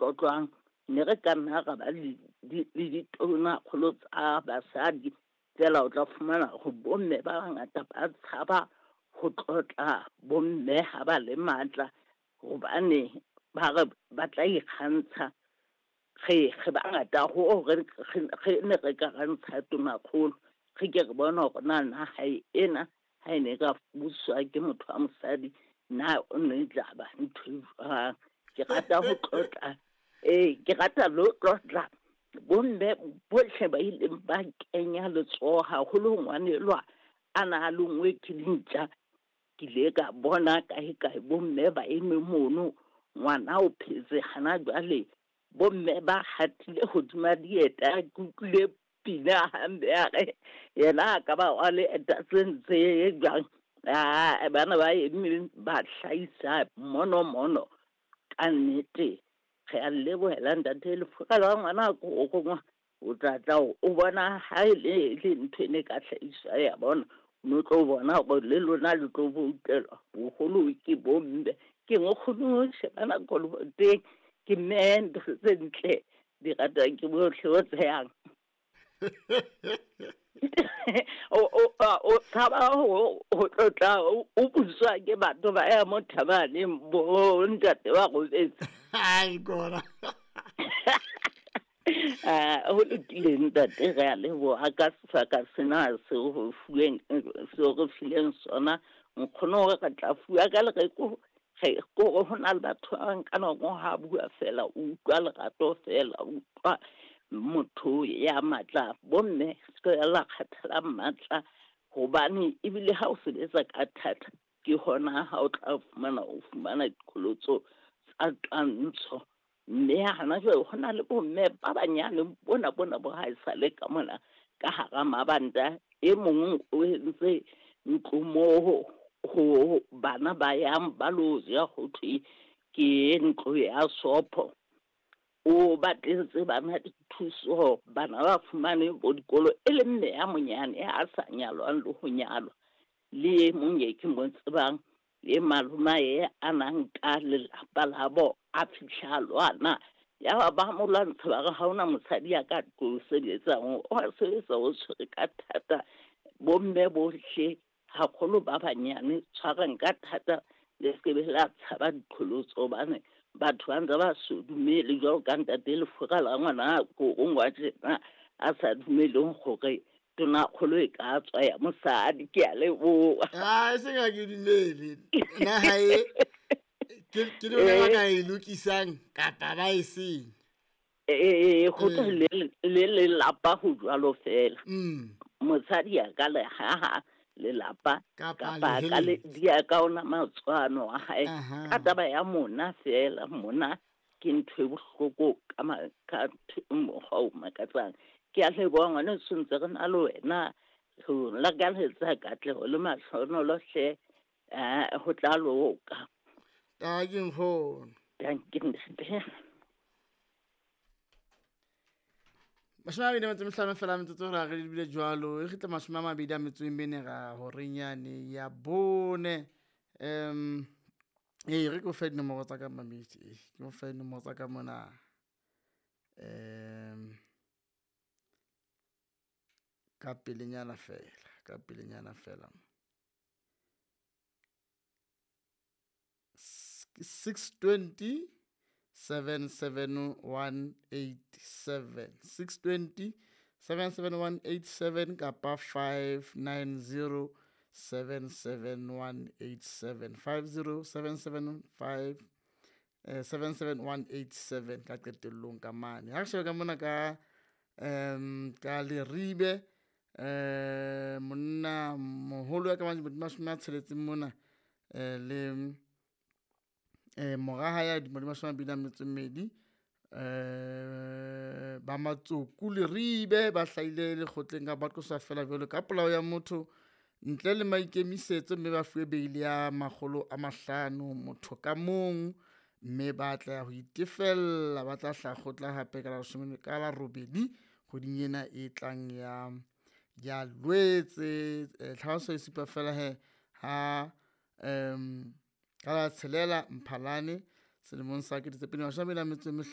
tlotlwang. Ne re ka nna ra ba le ditonakgolo tsa basadi, fela o tla fumana hore bomme ba bangata ba tshaba ho tlotla bomme ha ba le matla, hobane ba re ba tla ikgantsha. Re bangata hoo re ne re ka ra ntsha tonakgolo, re ke re bona hore na naha ena ha e ne ka buswa ke motho wa mosadi, na o ne tla ba ntho e jwang. Ke rata ho tlotla, ke rata le ho tlotla bomme bohle ba ileng ba kenya letsoho, haholo ngwanelwa a na a longwe ke dintja. Ke ile ka bona kae kae bomme ba eme mono, ngwana o phetse hana jwale, bomme ba hatile hodima dieta. Ke utlwile pina hampe ya re yena a ka ba wa le eta tse ntse jwang. Bana ba eme ba hlahisa mono mono. Ka nnete re a lebohela ntate Lefura la ngwana ko rongwa, o tla tla o bona ha e le ntho e ne ka hlahiswa ya bona, o tlo bona hore le lona le tlo boutelwa boholo ke bomme. Ke nkgono shebana koloboteng, ke mme ntho tse ntle di ratwang ke bohle o tshehang. O tshaba ho tlotla o buswa ke batho ba ya mo thabaneng bo ntate ba robetse. Ai kona. Ho lokile ntate, re a leboha ka sebaka sena seo re fuweng, seo re fileng sona. Nkgono hore re tla fuwa ka lereko, re kore ho na le batho ba bang ka nako ha bua fela o utlwa lerato fela, o utlwa motho ya matla. Bomme se la kgathala matla, hobane ebile ha o sebetsa ka thata ke hona ha o tla fumana o fumana diqholotso tsa twantsho. Mme hana jwale ho na le bomme ba banyane bona bona bo ha esale ka mona ka hara mabanta. E mong o entse ntlo moo ho bana ba yang ba lo ja, ho thwe ke ntlo ya sopho. O batletse bana dithuso, bana ba fumane bo dikolo, e le mme ya monyane a sa nyalwang le ho nyalwa. Le e mong e ke mo tsebang, le malomae a nang ka lelapa la bo, a fihla lwana. Ya ba mo lwantsha ba re ha hona mosadi ya ka tlo sebetsang, o a sebetsa o tshwere ka thata. Bomme bohle haholo ba banyane tshwarang ka thata, le se be la tshaba diqholotso, hobane batho ba ntse ba so dumele jwalo ka ntate Lefura la ngwana ko rongwa tjena a sa dumeleng hore tonakgolo e ka tswa ya mosadi. Ke a leboha. Ah, seng ha ke dumele. Naha e ke lona ba ka e lokisang kapa ba e seng. Ho tla le lelapa ho jwalo fela. Mosadi a ka le haha lelapa kapa ka le dia ka ona matswano a hae. Ka taba ya mona fela, mona ke ntho e bohloko ka mokgwa o makatsang. Ke a leboha ngwaneso, ntse re na le wena, re lakaletsa katleho le mahlohonolo hle, ho tla loka. Dankie nkgono. Dankie ntate. 25 fela metsotso re re lebile jwalo, e kgitla 24 ra horeng yane ya bone. Re ke o fe dinomoro tsa ka mamedi, ke o fe dinomoro tsa ka mona. Ka pelenyana fela, ka pelenyana fela. 620 77187, 620 77187 kapa 590 77187, 50775 77187 ka qetellong ka mane. Ha re shebe ka mona ka ka Leribe, monna moholo ya ka 60 mona, le moraha ya 22 ba Matsoku Leribe ba hlahile lekgotleng ka ba qoswa fela jwalo ka polao ya motho ntle le maikemisetso, mme ba fuwe beili ya 500 motho ka mong, mme ba tla ho itefella, ba tla hlaha kgotla hape ka la 18 kgweding ena e tlang ya Lwetse. Tlhaloso e supa fela he ha ka la 6 Mphalane selemong sa 2025